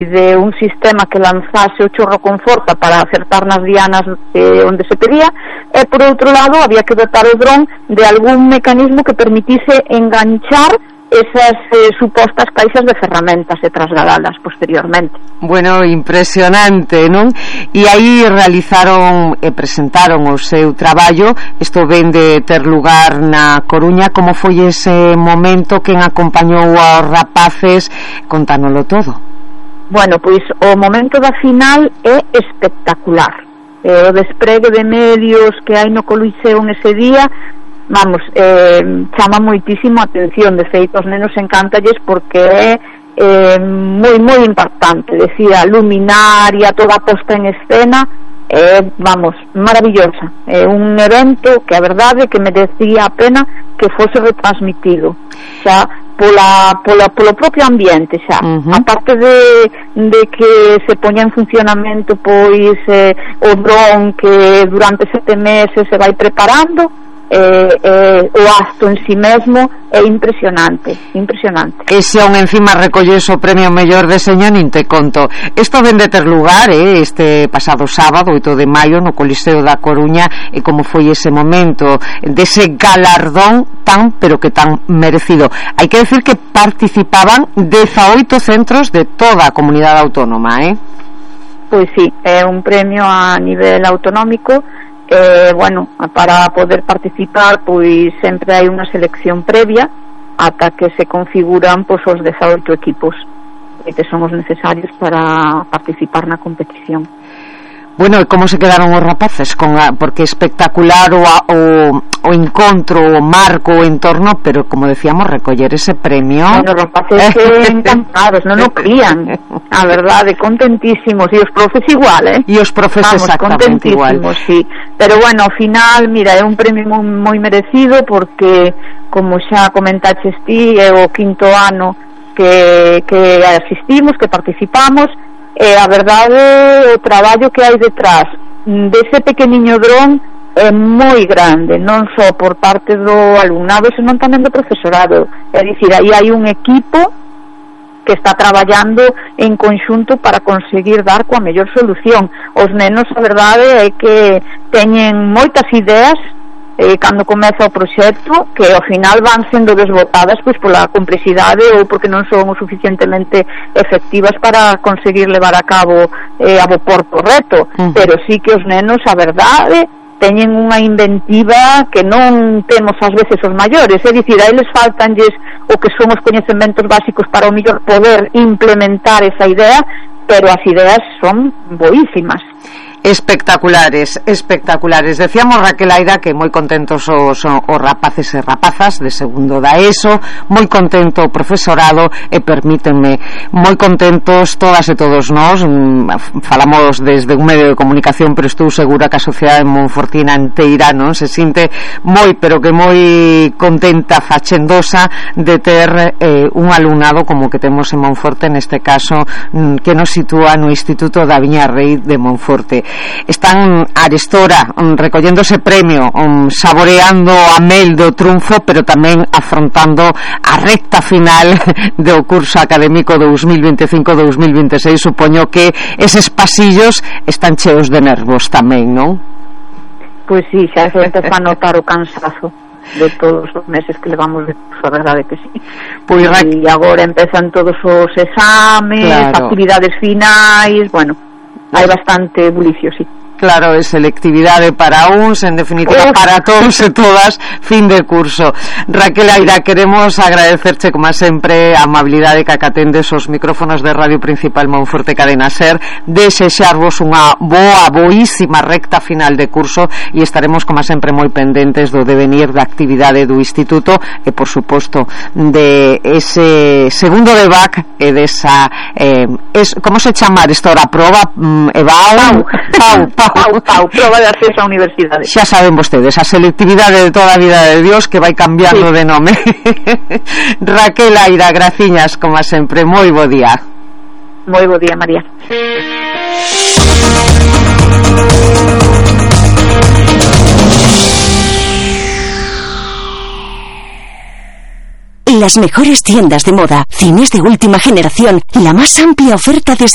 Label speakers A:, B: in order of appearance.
A: de un sistema que lanzase o chorro con forza para acertar nas dianas onde se pedía, e por outro lado había que dotar o dron de algún mecanismo que permitise enganchar esas supostas caixas de ferramentas e trasladalas posteriormente.
B: Bueno, impresionante, non? E aí realizaron e presentaron o seu traballo. Isto ven de ter lugar na Coruña. Como foi ese momento? Quen acompañou aos rapaces? Contánoslo todo.
A: Bueno, pois o momento da final é espectacular. O despregue de medios que hai no Coliseo nese día, vamos, chama moitísimo a atención. De feito, os nenos encántalles porque é moi impactante. Decía, luminaria, toda a posta en escena, vamos, maravillosa. É un evento que a verdade que merecía a pena que fose retransmitido xa polo propio ambiente xa. Aparte de que se poña en funcionamento pois o dron que durante 7 meses se vai preparando, o acto en si mesmo é impresionante.
B: E se aún encima recolles o premio mellor deseño, nin te conto. Isto ven de ter lugar este pasado sábado, 8 de maio, no Coliseo da Coruña, e como foi ese momento dese galardón tan, pero que tan merecido. Hai que decir que participaban 18 centros de toda a comunidade autónoma,
A: Pois sí, é un premio a nivel autonómico. Bueno, para poder participar pois sempre hai unha selección previa ata que se configuran pois os 18 equipos que son os necesarios para participar na competición.
B: Bueno, e como se quedaron os rapaces? Porque espectacular o encontro, o marco, o entorno, pero como decíamos, recoller ese premio.
A: Bueno, os rapaces encantados, non o crían, a verdade, contentísimos, e os profes igual,
B: E os profes exactamente igual.
A: Sí. Pero bueno, ao final, mira, é un premio moi merecido porque, como xa comentaches ti, é o 5º ano que asistimos, que participamos. A verdade, o traballo que hai detrás dese pequeniño dron é moi grande, non só por parte do alumnado, senón tamén do profesorado. É dicir, aí hai un equipo que está traballando en conxunto para conseguir dar coa mellor solución. Os nenos, a verdade, é que teñen moitas ideas cando comeza o proxecto, que ao final van sendo desbotadas pois pola complexidade ou porque non son o suficientemente efectivas para conseguir levar a cabo a bo porto o reto. Pero sí que os nenos, a verdade, teñen unha inventiva que non temos ás veces os maiores. É dicir, a eles faltanlles o que son os coñecementos básicos para o mellor poder implementar esa idea, pero as ideas son boísimas.
B: Espectaculares. Decíamos, Raquel Aira, que moi contentos os rapaces e rapazas de segundo da ESO, moi contento o profesorado e permítenme, moi contentos todas e todos nós. Falamos desde un medio de comunicación, pero estou segura que a sociedade monfortina inteira non se sinte moi, pero que moi contenta, fachendosa de ter un alumnado como que temos en Monforte, neste caso que nos sitúa no Instituto da Viña Rei de Monforte. Están arestora recollendo ese premio, saboreando a mel do triunfo, pero tamén afrontando a recta final do curso académico 2025-2026. Supoño que eses pasillos están cheos de nervos tamén, non?
A: Pois sí, xa se empeza a notar o cansazo de todos os meses que levamos de curso, a verdade que sí. Pois e agora empezan todos os exames, actividades finais, bueno, hai bastante bulicio, sí.
B: Claro, é selectividade para uns, en definitiva para todos e todas, fin de curso. Raquel Aira, queremos agradecerche como sempre a amabilidade que acatendes os micrófonos de Radio Principal Monforte Cadena Ser, desexarvos unha boísima recta final de curso e estaremos como sempre moi pendentes do devenir da actividade do Instituto e por suposto de ese segundo de BAC e desa como se chamar isto ahora? Proba
A: Pau, proba de acceso á universidade.
B: Xa saben vostedes, a selectividade de toda a vida de Dios que vai cambiando de nome. Raquel Aira, graciñas como sempre, moi bo día.
A: Moi bo día, María.
C: Las mejores tiendas de moda, cines de última generación, la más amplia oferta desde